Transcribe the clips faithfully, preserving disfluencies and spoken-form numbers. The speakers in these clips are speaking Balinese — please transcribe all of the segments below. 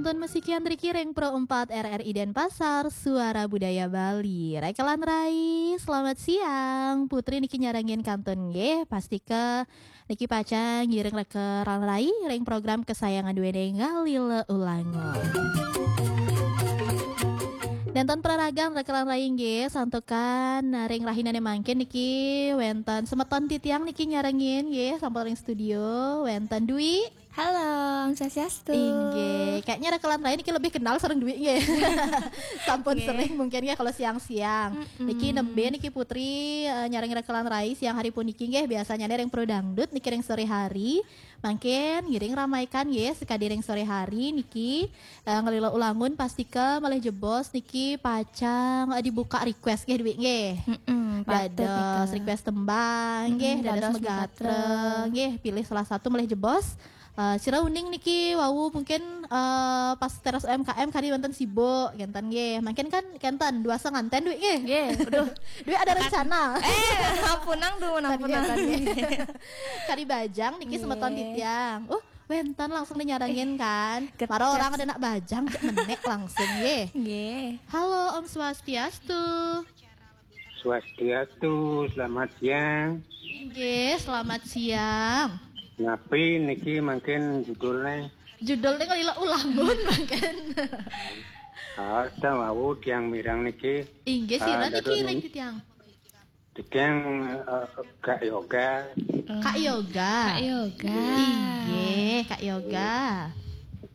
Kantun masikian riki ring Pro empat R R I Denpasar, Suara Budaya Bali. Rekelan Rai, selamat siang. Putri niki nyarengin kantun nggih, pastika niki pacang ngiring rekelan Rai ring program kesayangan duene Ngalila Ulangun. Nenten praragan rekelan Rai nggih, santukan ring rahinane mangkin niki wenten semeton titiang niki nyarengin nggih, sampun ring studio wenten Dwi. Halo, Om Swastiastu. Inggih, kayaknya rekelan Rai niki lebih kenal sareng Dwi nggih. Sampun Nggih. sering mungkin ya kalau siang-siang. Mm-mm. Niki nembe niki Putri, eh, nyarengin rekelan Rai siang hari puniki nggih, biasanya ring Pro Dangdut niki ring sore hari. Mangkin ngiring ramaikan nggih, sekadi ring sore hari niki, eh, Ngalila Ulangun pastika malih jebos niki pacang, eh, dibuka request nggih Dwi nggih. Mm-mm, patut Dados nika. request tembang nggih, Mm-mm, dados dados megatra megatra. nggih, pilih salah satu malih jebos. Eh, sira uning niki wau mungkin, eh, pas teras U M K M kari wonten sibuk, kenten nggih. Mangkin kan kenten dua senganten Dwi nggih. Nggih, aduh. Dwi ada rencana. Eh, ampunang dumun, Tadi ampunang. kenten nggih. Kari bajang niki semeton Nggih. titiang. Uh, wenten langsung dinyarengin kan. Get-, Mara orang get- ada nak bajang cek menek langsung nggih. Nggih. Halo, Om Swastiastu. Swastiastu, selamat siang. Nggih, selamat siang. Napi niki mangkin judulnya? Judulnya Ngalila Ulangun mangkin. Ah, tawau tiang mireng niki. Inggih, sira Ah, niki dados ring titiang. Titiang, eh, Kak Yoga. Kak Yoga. Kak Yoga. Inggih, Kak Yoga.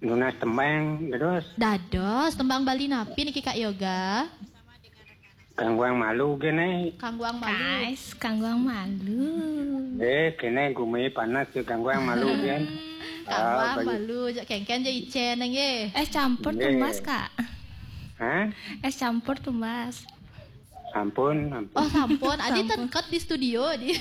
Nunas tembang, dados. Dados, tembang Bali napi niki Kak Yoga? Kangguang malu kene. Kangguang malu. Guys, kangguang malu. Eh, kene gumi panas ya kangguang malu kan. Kangguang Ah, bagi- malu, jak kengken je icen nggih. Es campur Nggih. tumbas, Kak. Hah? Es campur tumbas. Sampun, sampun. Oh, sampun. Adi Sampun. tengket di studio di.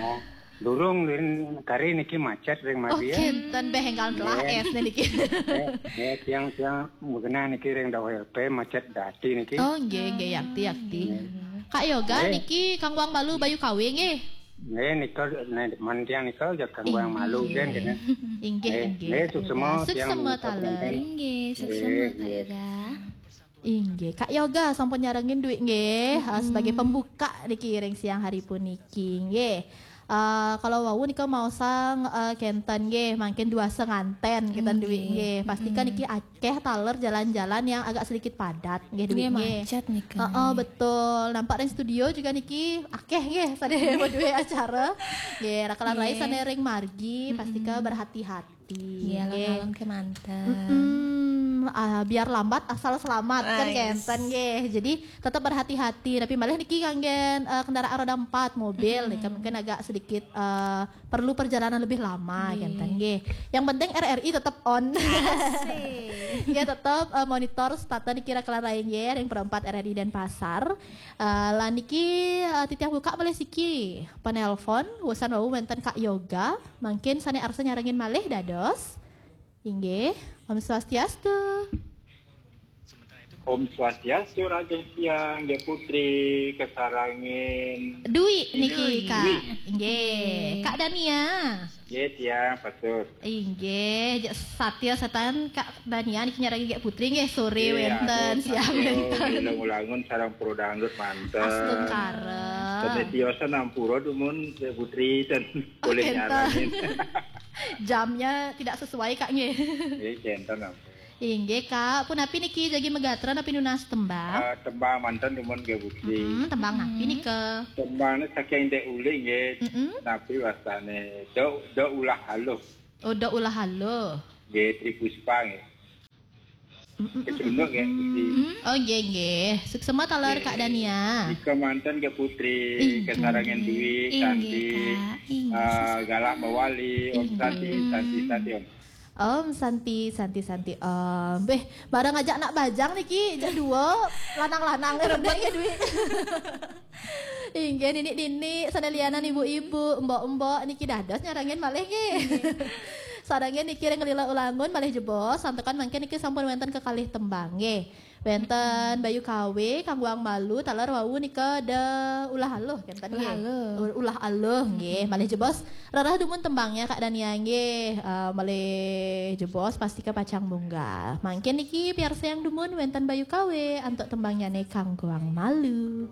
Oh, durung rin kari niki macet ring Oh, Madia. kenten beh enggal telah Nggih. es niki. Nggih, nggih, siang-siang mugena niki ring Dawai L P macet dati niki. Oh, nggih, nggih, yakti, yakti. Nggih. Kak Yoga Nggih. niki kangguang malu bayu kawe nggih. Nggih, nika, nek demen tiang nika ya kangguang Inggih. malu kan kene. Inggih, Nggih, inggih. nggih, suksema Suksema tiang taler. Inggih, suksema Nggih, Kak nggih. Yoga. Inggih, Kak Yoga sampun nyarengin Dwi nggih, eh, Mm-mm. sebagai pembuka niki ring siang hari puniki nggih. Eh, kalau wau nika maosang, eh, kenten nggih, mangkin dua senganten kenten Dwi Nggih. nggih. Pastika Mm-mm. niki akeh taler jalan-jalan yang agak sedikit padat nggih Dwi Nggih, nggih. macet nika Heeh, nggih. betul. Nampak ring studio juga niki akeh nggih sane maduwe acara. Nggih, rekelan Rai Nggih. sane ring margi, pastika Mm-mm. berhati-hati. Nggih, Nggih. alon-alon kemanten. Mm-mm. Ah, biar lambat asal selamat kan Ais. kenten nggih. Jadi tetap berhati-hati. Tapi malih niki kanggen, eh, kendaraan roda empat, mobil nih, kan Mm-mm. mungkin agak sedikit, eh, perlu perjalanan lebih lama Nggih. kenten nggih. Yang penting R R I tetap on. Asik. Nggih, tetap, eh, monitor stata niki rekelan Rai nggih, ring Pro empat R R I Denpasar. Eh, lan niki, eh, titiang buka malih siki penelpon, wusan wau wenten Kak Yoga. Mangkin sane arsa nyarengin malih dados. Inggih, Om Swastiastu. Om Swastiastu, Raja Siang, Nggih Putri, kesarengin Dwi niki, Dwi. Kak. Dwi. Inggih, Nggih. Kak Dania. Nggih, tiang, patut. Inggih, jak satia setan Kak Dania niki nyarengin Nggih Putri nggih, sore Nggih, wenten, atur, siang atur, wenten. Ngalila Ulangun sareng Pro Dangdut manten. Astungkara. Sane tiosan ampura dumun Nggih Putri dan Oh, boleh kenten. nyarengin. Jamnya tidak sesuai, Kak, nggih. Nggih, kenten ampun. Inggih, Kak. Punapi niki jagi megatra napi nunas tembang? Eh, tembang manten dumun Nggih Putri. Mm-mm, tembang napi Mm-mm. nika? Tembangnya saking Dek Uli nggih. Mm-mm. Napi wastane? Dok, dok ulah aluh. Oh, dok ulah aluh. Nggih, Tri Puspa nggih. Mm-mm. Kecunduk nggih, Putri. Oh, nggih, nggih. Suksema taler, Kak Nggih. Dania. Nika manten Nggih Putri, Inggih. kesarengin Dwi, Inggih, Santi, Kak. Inggih, eh, Sis. Galak Mawali, Om Inggih. Santi, Santi, Santi, Om. Om Santi, Santi, Santi, Om. Beh, bareng ajak nak bajang niki, jak dua, lanang-lanang, rebut ya, Dwi. Inggih, nini-nini, sane lianan ibu-ibu, mbok-mbok, niki dados nyarengin malih nggih. Sarengin niki ring Ngalila Ulangun malih jebos, santukan mangkin niki sampun wenten kekalih tembang nggih. Wénten Bayu Kawe, Kang Guang Malu, taler wau nika da Ulah Aluh, kénten Ulah nggih. Aluh. U- Ulah Aluh nggih. Malih jebos rarah dumun tembangnya Kak Dania nggih. Eh, malih jebos pastika pacang munggah. Mangkin niki piarsa yang dumun wénten Bayu Kawe antuk tembangnya ne Kang Guang Malu.